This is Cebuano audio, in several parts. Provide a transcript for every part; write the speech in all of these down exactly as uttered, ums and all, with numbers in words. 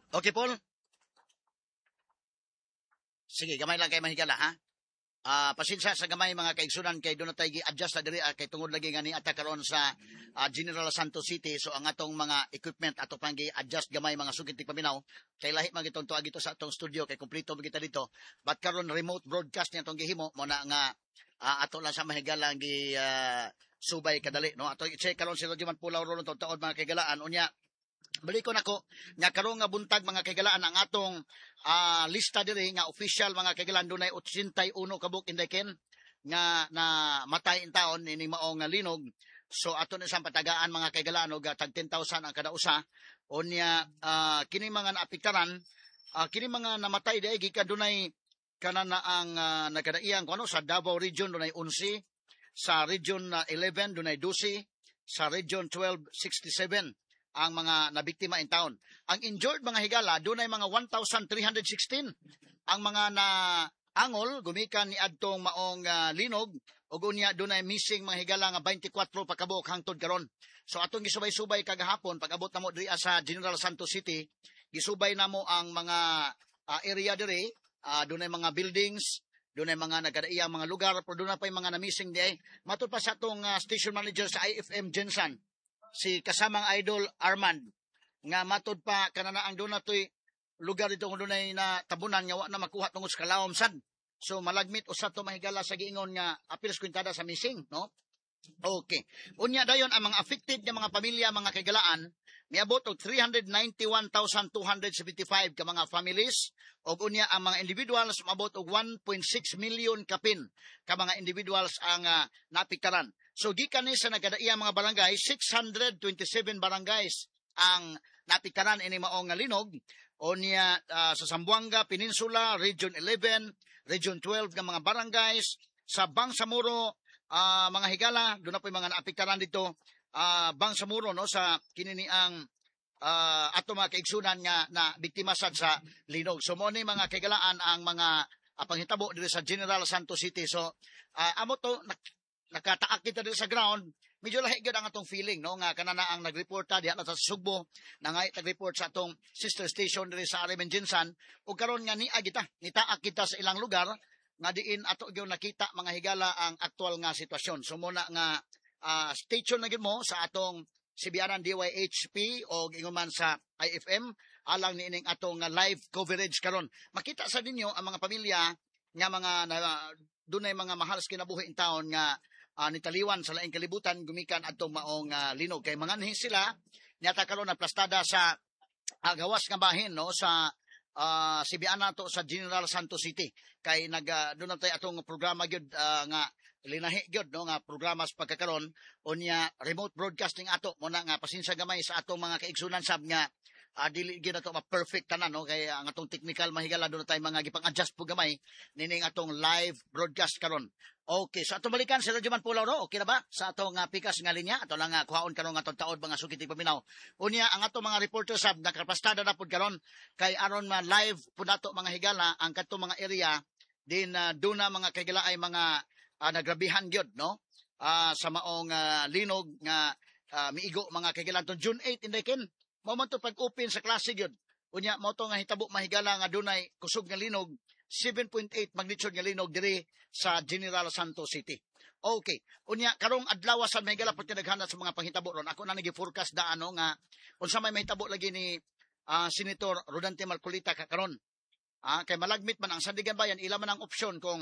Okay, Paul? Sige, gamay lang kay mahigala, ha? Ah, pasensya sa gamay, mga kaigsunan, kay doon na tayo gi-adjust na diri ah, kay tungod lagi nga ni ata karon sa ah, General Santos City, so ang atong mga equipment ato pang gi-adjust gamay, mga sugid paminaw, kay lahi man gitong tuag dito sa atong studio, kay kompleto man kita dito, but karon remote broadcast niya atong gihimo mo na nga ah, ato lang sa mahigala gi ah, subay kadali, no? Ato i-check karon si Roger Pulaw ron taod mga kaigalaan. Unya balikon ako nga karon nga buntag, mga kaigalaan, ang atong ah, lista diri nga official, mga kaigalaan, dunay eighty-one kabuk, Inday Ken, nga na matay in taon ini maong nga linog. So ato na siyang patagaan, mga kaigalaan, og ah, tag ten thousand ang kada usa. Unya ah, kini mga naapektaran, ah, kini mga namatay diay gikan dunay kana na ang uh, nagkadaiyang kuno sa Davao Region dunay eleven, sa Region ah, eleven dunay twelve, sa Region twelve sixty-seven ang mga nabiktima in town. Ang injured, mga higala, dunay mga one thousand three hundred sixteen ang mga na angol gumikan ni adtong maong ah, linog, ug unya dunay missing, mga higala, nga twenty-four pa kabuok hangtod karon. So atong gisubay-subay kagahapon pag-abot namo diri sa General Santos City, gisubay namo ang mga ah, area diri, uh, dunay mga buildings, dunay mga nagkadaiyang mga lugar, pero dunay pa yung mga na-missing di ay. Matud pa sa atong ah, station manager sa I F M GenSan, si kasamang Idol Armand, nga matud pa kanana ang doon na to'y lugar dito kung dunay na tabunan nga wa na makuha tungod sa kalawom sad. So malagmit usa to, mahigala, sa giingon nga apil kwintada sa missing, no? Okay. Unya dayon ang mga affected nga mga pamilya, mga kaigalaan, miabot og three hundred ninety-one thousand two hundred seventy-five ka mga families ug unya ang mga individuals maabot og one point six million kapin ka mga individuals ang uh, naapektaran. So gikan ni sa nagkadaiyang mga barangay, six hundred twenty-seven barangays ang naapektaran ini maong nga linog. Unya ah, sa Zamboanga Peninsula, Region eleven, Region twelve nga mga barangays, sa Bangsamoro, ah, mga higala, doon na po yung mga naapektaran dito, ah, Bangsamoro, no, sa kinini ang ah, ato mga kaigsunan nga na biktima sad sa linog. So mo ni, mga kaigalaan, ang mga ah, panghitabo diri sa General Santos City. So ah, amo to nak- nakataak kita diri sa ground, medyo lahi gyud ang atong feeling, no, nga kanana ang nagreporta diha na sa Sugbo, nangay nag-report sa atong sister station diri sa R M N GenSan, ug karon nga nia kita nitaak kita sa ilang lugar nga diin ato gyud nakita, mga higala, ang aktual nga sitwasyon. So muna nga ah, stay tuned na gyud mo sa atong C B R N D Y H P o ingon man sa I F M alang niining atong nga live coverage karon. Makita sa ninyo ang mga pamilya nga mga na, dunay mga mahal sa kinabuhi in taon nga ah, nitaliwan sa laing kalibutan gumikan adtong maong ah, linog, kay mga sila nyata karon na plastada sa ah, gawas nga bahin, no, sa uh, C B N nato sa General Santos City, kay nag uh, doon na tayo atong programa gyud ah, nga linahi gyud, no, nga programa sa pagkakaron. Unya remote broadcasting ato mo na nga pasensya gamay sa atong mga kaigsunan sab nga uh, dili gyud nato ma-perfect tanan, no, kay ang atong technical, mahigala, doon na tayo mga gipang-adjust po gamay nining atong live broadcast karon. Okay, so atong balikan si Radyo Man Pulaw, no? Okay na ba? Sa atong uh, pikas nga linya, ato lang uh, kuhaon karon nga atong taod, mga sukit paminaw. Unya ang atong mga reporter sab nakapastada na pud karon kay aron ma live pud nato, mga higala, ang kadtong mga area din uh, duna, mga kaigala, ay mga uh, nagrabihan gyud, no? Uh, sa maong uh, linog nga uh, miigo, mga kaigala, tong June eight, Inday Ken. Mao man to pag-open sa klase gyud. Unya mao to nga hitabo, mahigala, nga dunay kusog nga linog, seven point eight magnitude nga linog diri sa General Santos City. Okay. Unya karong adlaw sa, mahigala, pud kinaghanan sa mga panghitabo ron. Ako na nagi-forecast daan, no, nga unsa may mahitabo lagi ni ah, Senator Rodante Marcoleta kakaron. Ah, kay malagmit man ang Sandiganbayan, ila man ang opsyon kung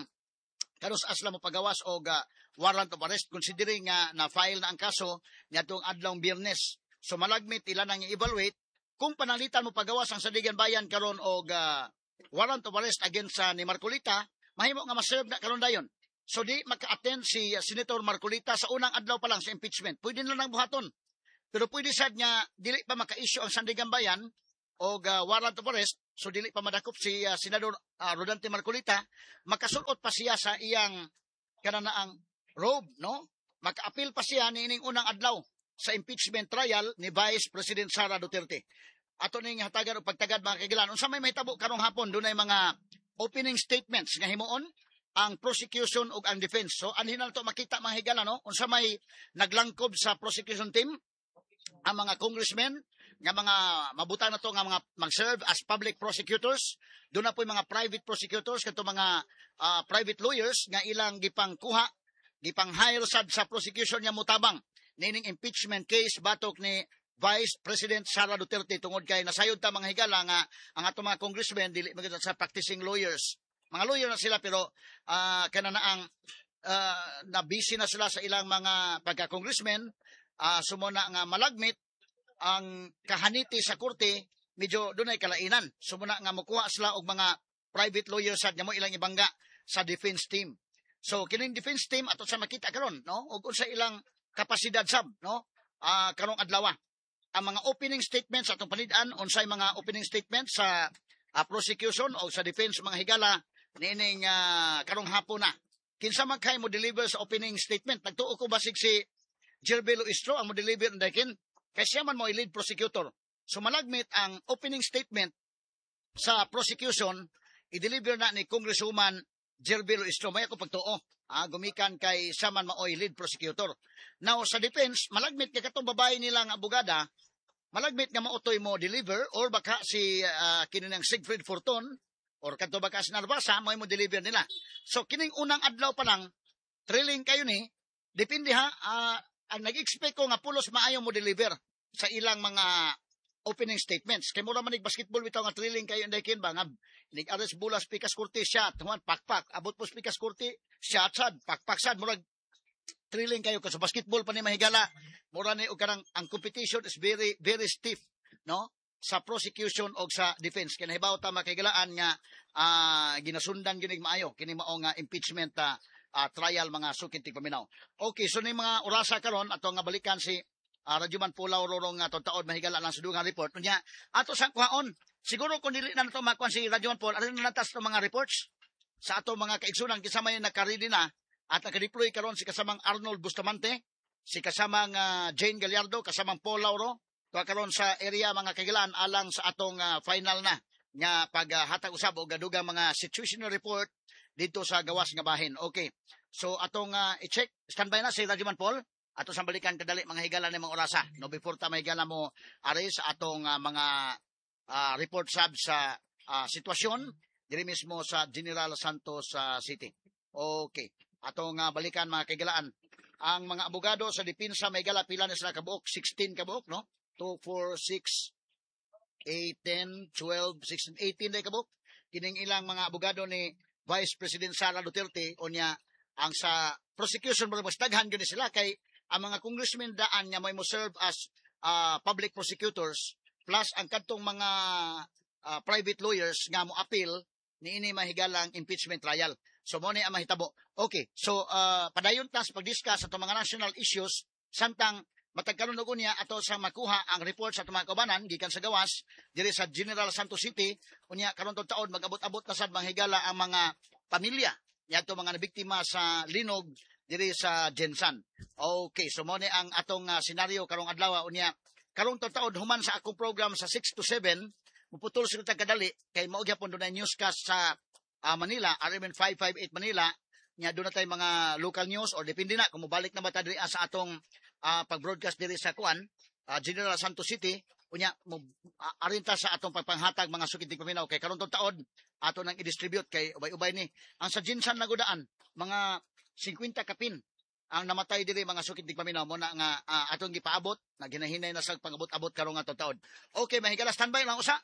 kanus-a sila mo pagawas og ah, warrant of arrest, considering nga na file na ang kaso niadtong adlawng Biyernes. So malagmit ila nang i-evaluate kung panalitan mo pagawas ang Sandiganbayan karon og ah, warrant of arrest against sa ni Marcoleta, mahimo nga ma-serve na karon dayon. So di maka-attend si uh, Senator Marcoleta sa unang adlaw pa lang sa impeachment. Pwede na lang buhaton. Pero pwede sad nga dili pa maka-issue ang Sandiganbayan og uh, warrant of arrest, so dili pa madakop si uh, Senador uh, Rodante Marcoleta, makasulot pa siya sa iyang kananaang robe, no? Maka-appeal pa siya niining unang adlaw sa impeachment trial ni Vice President Sara Duterte. Ato ning hatagan og pagtagad, mga kaigalan. Unsa may mahitabo karong hapon, dunay mga opening statements nga himuon ang prosecution ug ang defense. So anhin na to makita, mga higala, no? Unsa may naglangkob sa prosecution team, ang mga congressmen nga mga mabutang na to nga mga mag-serve as public prosecutors. Doon na po mga private prosecutors, kadto mga ah, private lawyers nga ilang gipangkuha, gipang hire sad sa prosecution nga mutabang nining impeachment case batok ni Vice President Sara Duterte, tungod kay nasayod ta, mga higala, nga ang atong mga congressmen dili man gyud sa practicing lawyers. Mga lawyer na sila, pero uh, kana na ang uh, na busy na sila sa ilang mga pagka-congressmen, uh, sumuna nga malagmit ang kahaniti sa korte, medyo dunay kalainan. Sumuna nga mukuha sila og mga private lawyers sad nga mo ilang ibangga sa defense team. So kining defense team, ato sa makita karon, no, ug unsa ilang kapasidad sab, no, ah, karong adlaw. Ang mga opening statements atong panid-an, unsay mga opening statements sa ah, prosecution o sa defense, mga higala, niining ah, karong hapon na. Kinsa man kay mo deliver sa opening statement? Nagtuo ko basig si Gerville Luistro ang mo deliver dakin kay siya man mo lead prosecutor. So malagmit ang opening statement sa prosecution i-deliver na ni Congresswoman Gerville Luistro. May ako pagtuo. Ah, gumikan kay siya man maoy lead prosecutor. Now sa defense, malagmit kay katong babae nilang abogada, malagmit nga maotoy mo deliver or baka si uh, kininang Siegfried Fortun or kadto baka si Narvasa mo mo deliver nila. So kining unang adlaw pa lang, thrilling kayo ni, depende ha, ah, ang nag-expect ko nga pulos maayo mo deliver sa ilang mga opening statements. Kay mura man basketball bitaw nga thrilling kayo, inday kin ba nga nig ares bulas pikas kurti shot, human pakpak, abot po pikas kurti shot sad, pakpak sad, murag thrilling kayo kasi basketball pa ni, mahigala. Mura ni og kanang ang competition is very very stiff, no, sa prosecution og sa defense. Kay nahibaw ta, makigalaan, nga ah, ginasundan gyud maayo kini mao nga impeachment ah, ah, trial, mga suki tigpaminaw. Okay, so ni mga orasa karon, ato nga balikan si uh, Radyoman Pulaw Rorong nga taod, mahigala, lang sa dugang report. Unya ato sa kuhaon siguro kung dili na nato makuha si Radyoman Paul, arin na natas mga reports sa ato mga kaigsunan kinsa may naka-ready na at naka-deploy karon, si kasamang Arnold Bustamante, si kasamang ah, Jane Gallardo, kasamang Paul Lauro, tuwa karon sa area, mga kagilaan, alang sa atong ah, final na nga paghatag usab og dugang mga situational report dito sa gawas nga bahin. Okay. So atong ah, i-check, standby na si Radyoman Paul. Ato sang balikan kadali, mga higala, ni mga orasa. No, before ta, mahigala, mo ari sa atong ah, mga ah, report sab sa ah, sitwasyon diri mismo sa General Santos ah, City. Okay. Atong ah, balikan, mga kaigalaan, ang mga abogado sa depensa, may gala, pila na sila kabuok? sixteen kabuok, no? two, four, six, eight, ten, twelve, sixteen, eighteen na kabuok. Kining ilang mga abogado ni Vice President Sara Duterte. Unya ang sa prosecution mo mas daghan gyud ni sila kay ang mga congressmen daan nga may mo serve as ah, public prosecutors plus ang kadtong mga ah, private lawyers nga mo appeal niini, mahigalang, impeachment trial. So mo ni ang mahitabo. Okay, so uh, padayon ta sa pag-discuss sa atong mga national issues samtang matag karon og unya ato sa makuha ang report sa atong mga kaubanan gikan sa gawas diri sa General Santos City. Unya karon taon mag-abot-abot na sad, mga higala, ang mga pamilya niadto mga nabiktima sa linog diri sa GenSan. Okay, so mo ni ang atong uh, senaryo karong adlaw. Unya karong taon, human sa akong program sa six to seven, muputol sila tag kadali kay mao gyapon dunay newscast sa ah, Manila, R M N five fifty-eight Manila, nya doon na tay mga local news or depende na kung mobalik na ba ta diri ah, sa atong ah, pag-broadcast diri sa kuan, ah, General Santos City. Unya mo uh, arin ta sa atong pagpanghatag, mga suki tigpaminaw, kay karon tong taon ato nang i-distribute kay ubay-ubay ni ang sa GenSan nagudaan, mga singkwenta kapin ang namatay diri, mga suki tigpaminaw. Mo na nga ah, atong gipaabot na ginahinay na sa pangabot-abot karon nga taon. Okay, mahigala, standby lang usa,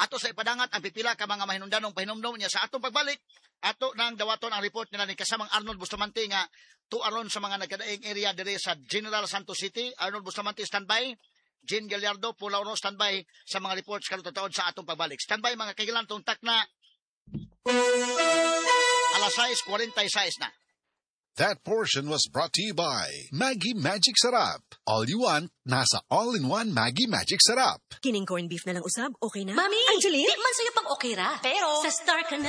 ato sa ipadangat ang pipila ka mga mahinungdanong pahinumdom niya. Sa atong pagbalik, ato nang dawaton ang report nila ni kasamang Arnold Bustamante nga tuaron sa mga nagkadaing area diri sa General Santos City. Arnold Bustamante, standby. Jean Gallardo, Pulauro, standby sa mga reports karon taon sa atong pagbalik. Standby, mga kaigilan, tungtak na alas sais kwarenta y sais na. That portion was brought to you by Maggi Magic Sarap. All you want, nasa all-in-one Maggi Magic Sarap. Kining corned beef na lang usab, okay na? Mami! Angeline? Di man sa'yo pang okay ra. Pero- Sa Star ka na.